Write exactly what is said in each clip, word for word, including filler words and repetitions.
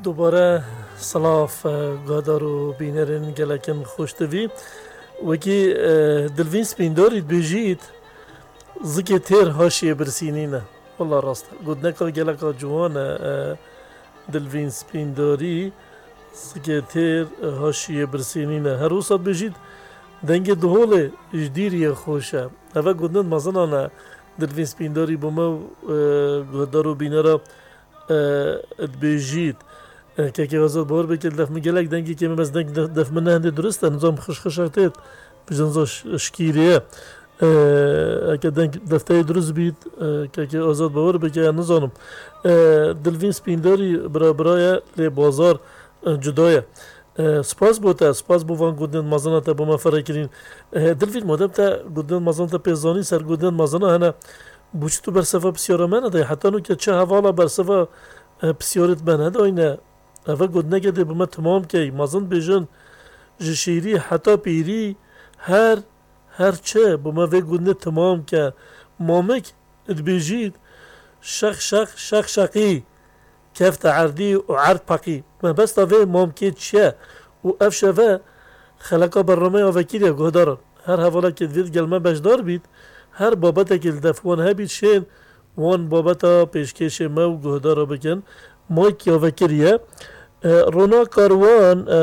Dubare silav, e, guhdar û bînerên gelekin xweştivî. Wekî, e, Dilvîn Spîndorî dibêjît, zikê têr haşiyê birsînî ne. Wela rast e. Gotineka geleka ciwan e, e, Dilvîn Spîndorî, zikê têr, e, haşiyê birsînî ne. Her wisa dibêjît, dengê diholê ji dîriyê xweş e. Eve gotinên mezin e, Dilvîn Spîndorî bo me, e, guhdar û bînera e, dibêjît. E, kekê Azad, bawer bike, def min gelek dengê kêm e, bes deng def, def min ne hindê durist e, nizam xişxişek têt, bi jinza ş-, şkîrê ye. E, eke deng defteyê durist bît, e, kekê Azad, bawer bike, ez nizanim. E, Dilvîn Spîndarî bira bira ye, lê bazar, e, cuda ye. E, spas bo te, spas bo van gotinên mezina te bo me ferek kirîn. E, Dilvîn, madem te gotinên mezina te pê zanî, ser gotinên mezina hene, bo çi tu bersiva pisyara me nedayî? Heta nûke çi hevala bersiva, e, pisyarê me nedayîne? Eve gotineke dê bo me timam key. Mezin dibêjin, ji şîrî heta pîrî her, her çi bo me vê gotinê timam ke. Mamik dibêjît, şeq şeq, şeq şeqî. Kefte erdî û erd peqî. Mebesta vê mamkê çi ye? Û ev şeve xeleka bernameya vekirî ye, guhdaran. Her hevalekê divêt gel me beşdar bît, her babetekê li def wan hebît, şên wan babeta pêşkêşê me û guhdara bikin. Mayk ya vekirî ye. E, Ronak Karwan, e,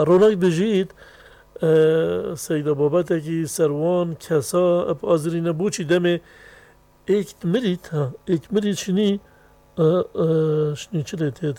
Ronak dijît, e, Seyda babetekî ser wan kesa ep azirîne, boçî demê êk mirît, ha, êk mirît şinî, e, e, şinî çi lê têt,